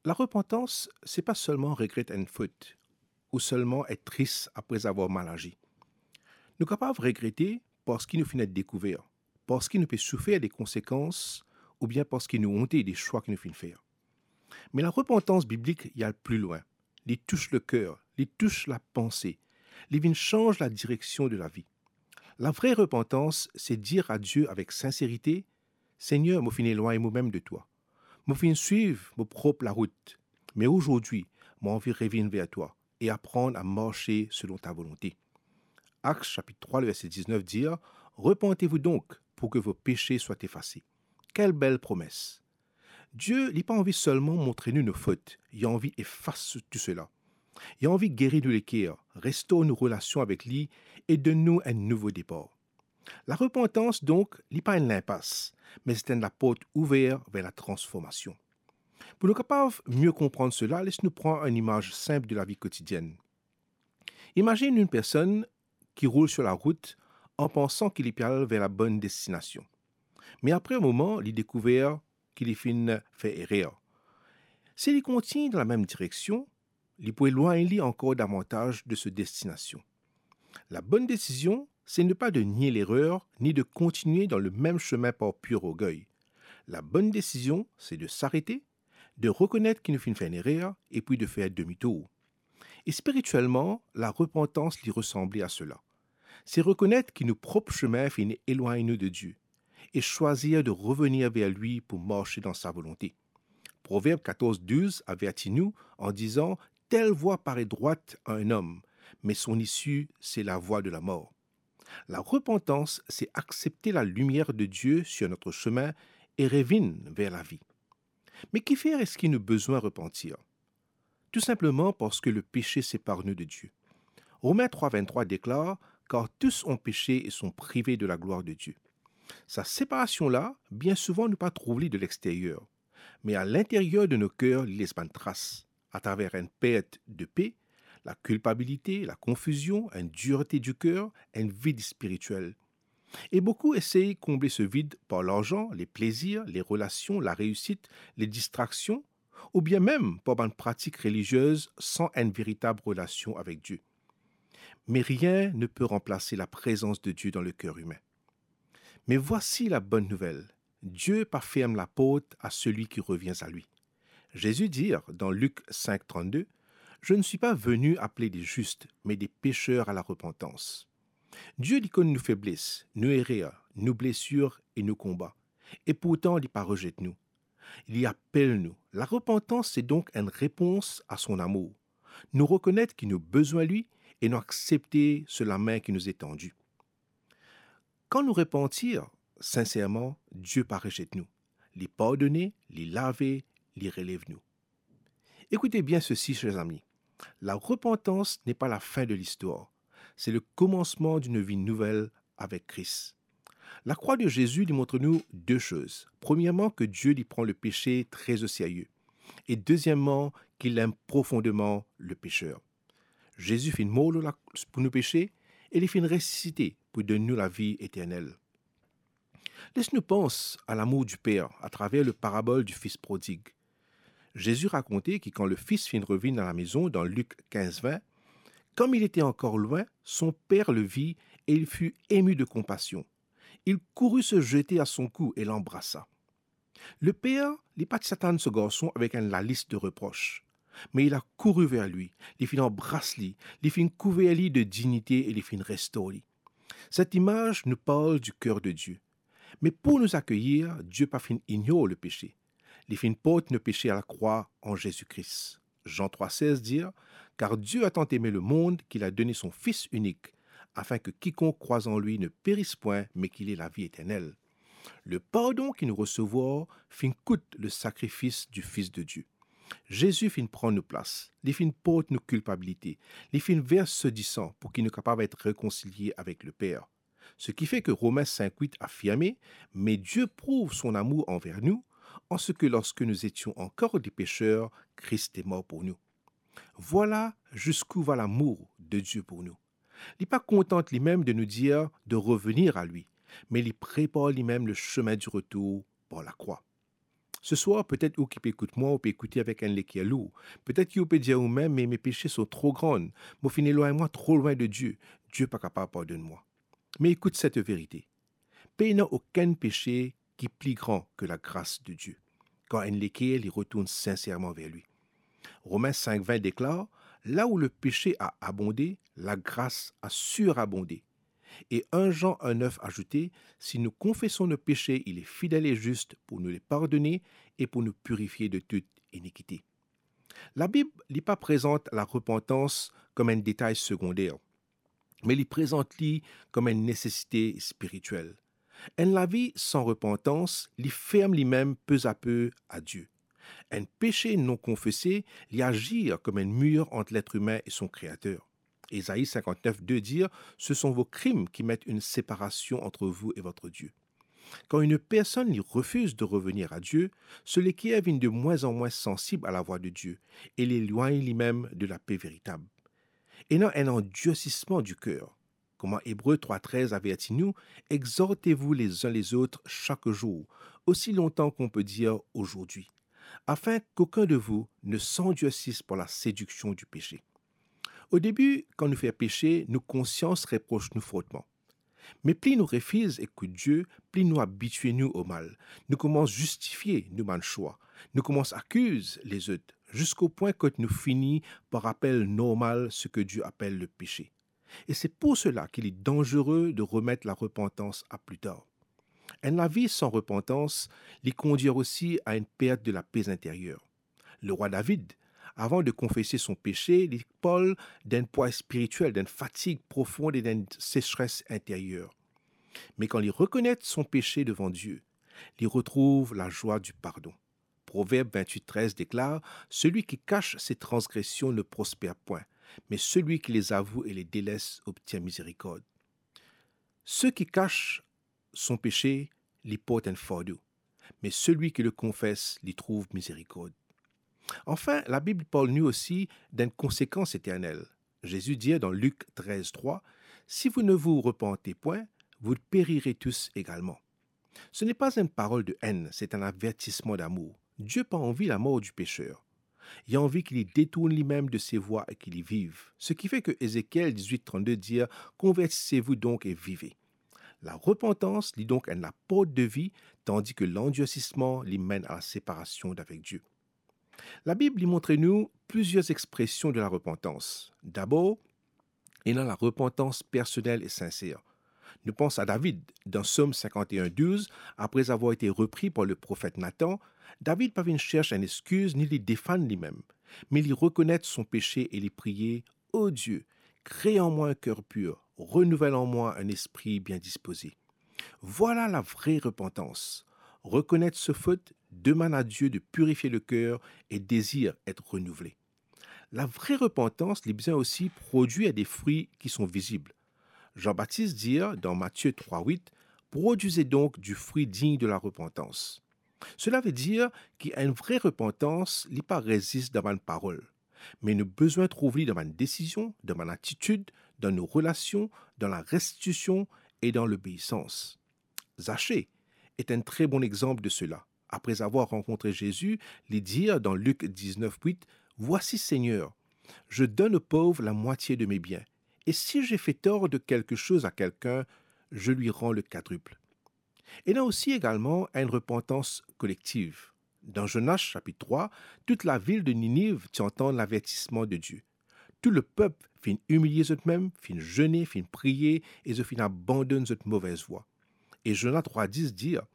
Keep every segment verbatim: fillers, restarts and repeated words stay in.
Larepantans, se pa selman regret enn fot, ou selman et tris apre avoir mal azi. Nou kapav regrete parski nou finn et dekouver, parski nou pe soufer de konsekans, oubien parski nou onte de swa ki nou finn fer. Me larepantans biblik, li al pli lwin. Li tous leker, li tous lapanse, li vinn sanz ladireksion de lavi. Lavre repantans, se dir a Die avek sinserite, "Segner, mo finn elwagn momem de twa. Mo finn swiv mo prop larout, me azordi, mo anvi revinn ver twa e aprann a marse selon ta volonte." Actes chapitre trois, le verset dix-neuf dir, "Repentez-vous donc pour que vos péchés soient effacés." Kel bel promes! Die, li pa anvi selman montre nou nou fot, li anvi efas tou sela. Li anvi geri nou leker, restor nou relasion avek li e donn nou enn nouvo depar. Larepantans, donk, li pa enn linpas, me se enn laport ouver ver latransformasion. Pou nou kapav mie konprann sela, les nou pran enn imaz sinp de lavi kotidienn. Imazinn enn personn ki roul sir larout an pansan ki li pe al ver labonn destinasion. Me apre enn moman, li dekouver ki li finn fer erer. Si li kontign dan lamem direksion, li pou elwagn li ankor davantaz de so destinasion. Labonn desizion, se ne pa de nie lerer, ni de kontigne dan lemem semin par pir orgey. Labonn desizion, se de sarete, de rekonet ki nou finn fer enn erer, epi de fer demitour. E spiritielman, larepantans li resanble a sela. Se rekonet ki nou prop semin finn elwagn nou de Die e swazir de revenir ver li pou marse dan sa volonte. Proverb quatorze douze averti nou an dizan, "Telle voie paraît droite à un homme, mais son issue, c'est la voie de la mort." Larepantans, se aksepte lalimier de Die sir nou semin e revinn ver lavi. Me kifer eski nou bizin repantir? Tou sinpleman parski lepese separ nou de Die. Romin trois vingt-trois deklar, "Car tous ont péché et sont privés de la gloire de Dieu." Sa separasion la, bien souvan nou pa trouv li de lexteryer, me a linteryer de nou ker li les bann tras, atraver enn pert de pe, lakilpabilite, lakonfizion, enn dirte diker, enn vid spiritiel. E boukou esey konble se vid par larzan, leplezir, lerelasion, lareisit, ledistraksion, oubien mem par bann pratik reliziez san enn veritab relasion avek Die. Me rien ne peut remplacer la présence de Dieu dans le cœur humain. Me voici la bonne nouvelle, Die pa ferm laport a selwi ki revien a li. Zezi dir dan Lik cinq trente-deux, "Je ne suis pas venu appeler des justes, mais des pécheurs à la repentance." Die li konn nou febles, nou erer, nou blesir e nou konba. E pourtan, li pa rezet nou. Li apel nou. Larepantans, se donk enn repons a son amour. Nou rekonet ki nou bizin li e nou aksepte so lame ki nou etandi. Kan nou repantir sinserman, Die pa rezet nou. Li pardone, li lave, li relev nou. Écoutez bien ceci, chers amis. La repentance n'est pas la fin de l'histoire. C'est le commencement d'une vie nouvelle avec Christ. Lakrwa de Zezi li montre nou de soz. Premierman, ke Die li pran lepese tre o serye. E dezieman, ki li aim profondeman lepeser. Zezi finn mor lor lakros pou nou pese e li finn resisite pou donn nou lavi eternel. Les nou pans a lamour du Père atraver le parabol du fils prodigue. Zezi rakonte ki kan lefis finn revinn a lamezon dan Lik kinz vin, comme il était encore loin, son père le vit et il fut ému de compassion. Il courut se jeter à son cou et l'embrassa. Leper, li pa ti atann so garson avek enn lalis de repros, me li la kouri ver li, li finn anbras li, li finn kouver li de dignite e li finn restor li. Cette image nous parle du cœur de Dieu. Me pou nou akeyir, Die pa finn ignor lepese. Li finn port nou pese a lakrwa an Zezi Kris. Jean trois seize dir, car Dieu a tant aimé le monde qu'il a donné son Fils unique, afin que quiconque croit en lui ne périsse point, mais qu'il ait la vie éternelle. Le pardon ki nou resevwar finn kout le sakrifis du Fils de Dieu. Zezi finn pran nou plas, li finn port nou kilpabilite, li finn vers so disan pou ki nou kapav et rekonsilie avek Leper. Seki fe ke Romin cinq huit afirme, mais Dieu prouve son amour envers nous, en ce que lorsque nous étions encore des pécheurs, Christ est mort pour nous. Voilà jusqu'où va l'amour de Dieu pour nous. Li pa kontant limem de nou dir de revenir a li, me li prepar limem le chemin du retour par lakrwa. Se swar, petet ou ki pe ekout mwa, ou pe ekoute avek enn leker lour. Petet ki ou pe dir ou mem, "Me, me pese son tro gran. Mo finn elwagn mwa tro lwin de Die. Die pa kapav pardonn mwa." Me ekout set verite. Pena okenn pese ki pli gran ke lagras de Die, kan enn leker li retourn sinserman ver li. Romin sink vin deklar, "La où le péché a abondé, la grâce a surabondé." E enn Zan enn nef azoute, "Si nous confessons nos péchés, il est fidèle et juste pour nous les pardonner et pour nous purifier de toute iniquité." Labib, li pa prezant larepantans kom enn detay segonder, me li prezant li kom enn nesesite spiritiel. Enn lavi san repantans, li ferm limem pezape a Die. Enn pese non konfese, li azir kom enn mir ant letr imin e son Kreater. Ezayi sinkant-nef de dir, "Ce sont vos crimes qui mettent une séparation entre vous et votre Dieu." Quand une personne li refiz de revenir à Dieu, so leker vinn de mwin an mwin sansib a lavwa de Die e li elwagn limem de lape veritab. Ena enn andirsisman di ker. Kouma Ebre trwa trez averti nou, "Exhortez-vous les uns les autres chaque jour, aussi longtemps qu'on peut dire aujourd'hui, afin qu'aucun de vous ne s'endurcisse par la séduction du péché." O debi, kan nou fer pese, nou konsians repros nou fortman. Me pli nou refiz ekout Die, pli nou abitie nou o mal. Nou koumans zistifie nou bann swa. Nou koumans akiz lezot, ziska pwin kot nou fini par apel normal seki Die apel lepese. E se pou sela ki li danzere de remet larepantans a pli tar. Enn lavi san repantans, li kondir osi a enn pert de lape interyer. Lerwa David, avan de konfese son pese, li parl d'enn pwa spiritiel, d'enn fatig profon e d'enn sesres interyer. Me kan li rekonet son pese devan Die, li retrouv lazwa di pardon. Proverb vintwit trez deklar, "Celui qui cache ses transgressions ne prospère point, mais celui qui les avoue et les délaisse obtient miséricorde." Seki kas son pese, li port enn fardo, me selwi ki le konfes, li trouv mizerikord. Anfin, Labib parl nou osi d'enn konsekans eternel. Zezi dir dan Lik trez trwa, "Si vous ne vous repentez point, vous périrez tous également." Ce n'est pas une parole de haine, c'est un avertissement d'amour. Die pa anvi lamor di peser. Li anvi ki li detourn limem de se vwa e ki li viv. Sekife ke Ezekiel dizwit trannde dir, "Convertissez-vous donc et vivez." Larepantans, li donk enn laport de vi, tandi ke landirsisman, li menn a laseparasion avek Die. Labib, li montre nou plizier expresion de larepantans. Dabor, ena larepantans personel e sinser. Nou pans a David, dan Psom sinkant-e-enn douz, apre avoir ete repri par le profet Natan, David pa vinn sers enn exkiz ni li defann limem, me li rekonet son pese e li priye, "O Die, crée en moi un cœur pur, renouvelle en moi un esprit bien disposé." Vwala lavre repantans. Rekonet so fot, demann a Die de pirifier le ker e dezir et renouvle. Lavre repantans, li bizin osi prodwir de fri ki son vizib. Zan Batis dir dan Matie trwa wit, "Produisez donc du fruit digne de la repentance." Sela ve dir ki enn vre repantans, li pa res zis dan bann parol, me nou bizin trouv li dan bann desizion, dan bann atitid, dan nou relasion, dan larestitision e dan lobeisans. Zache est un très bon exemple de cela. Après avoir rencontré Jésus, li dir dan Lik diznef wit, "Voici, Seigneur, je donne aux pauvres la moitié de mes biens, et si j'ai fait tort de quelque chose à quelqu'un, je lui rends le quadruple." Ena osi egalman enn repantans kolektiv. Dan Zonas sapit trwa, tout lavil de Niniv ti antann lavertisman de Die. Tou lepep finn imilie zotmem, finn zene, finn priye e zot finn abandonn zot movez vwa. E Zona trwa dis dir,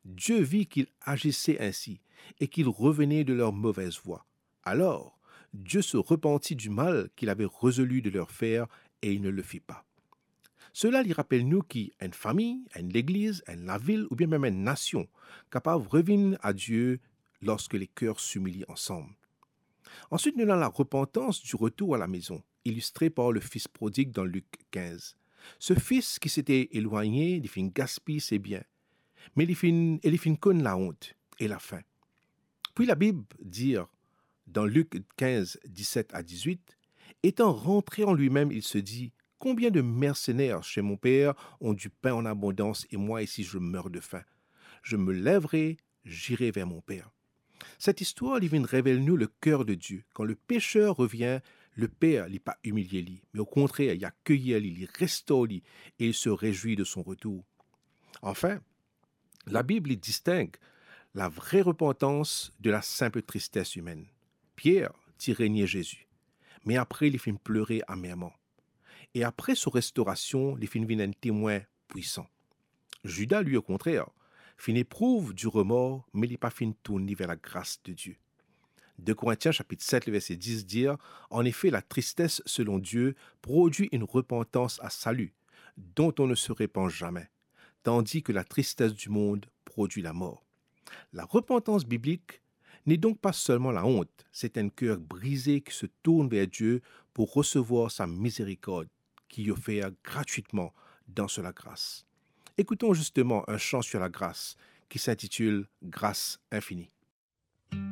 "Dieu vit qu'ils agissaient ainsi et qu'ils revenaient de leur mauvaise voie. Alors, Dieu se repentit du mal qu'il avait résolu de leur faire et il ne le fit pas." Sela li rapel nou ki enn fami, enn legliz, enn lavil oubien mem enn nasion kapav revinn a Die lorske leker similie ansam. Answit, nou ena larepantans di retour a lamezon, ilistre par le fis prodig dan Lik kinz. Ce fils qui s'était éloigné, li finn gaspiy se bien, me li finn, e li finn konn laont e lafin. Puis Labib dir dan Lik kinz, diset a dizwit, "Étant rentré en lui-même, il se dit, combien de mercenaires chez mon père ont du pain en abondance et moi ici je meurs de faim. Je me lèverai, j'irai vers mon père." Set istwar, li vinn revel nou leker de Die. Kan le peser revien, Leper, li pa imilie li, me okontrer, li akeyir li, li restor li, e li se rezwi de son retour. Anfin, Labib, li disteng lavre repantans de lasinp tristes imenn. Pier ti renie Zezi, me apre li finn plere amerman. E apre so restorasion, li finn vinn enn temwin pwisan. Zida, li, okontrer, finn eprouv di remor, me li pa finn tourn li ver lagras de Die. De Korintien sapit set, le verse dis dir, Annefe, latristes selon Die prodwi enn repantans a sali, dont on ne se repant zame, tandi ke latristes di mond prodwi lamor. Larepantans biblik n'est donc pas seulement la honte, c'est un cœur brisé qui se tourne vers Dieu pour recevoir sa miséricorde qui est offerte gratuitement dans sa grâce. Écoutons justement un chant sur la grâce qui s'intitule Grâce infinie.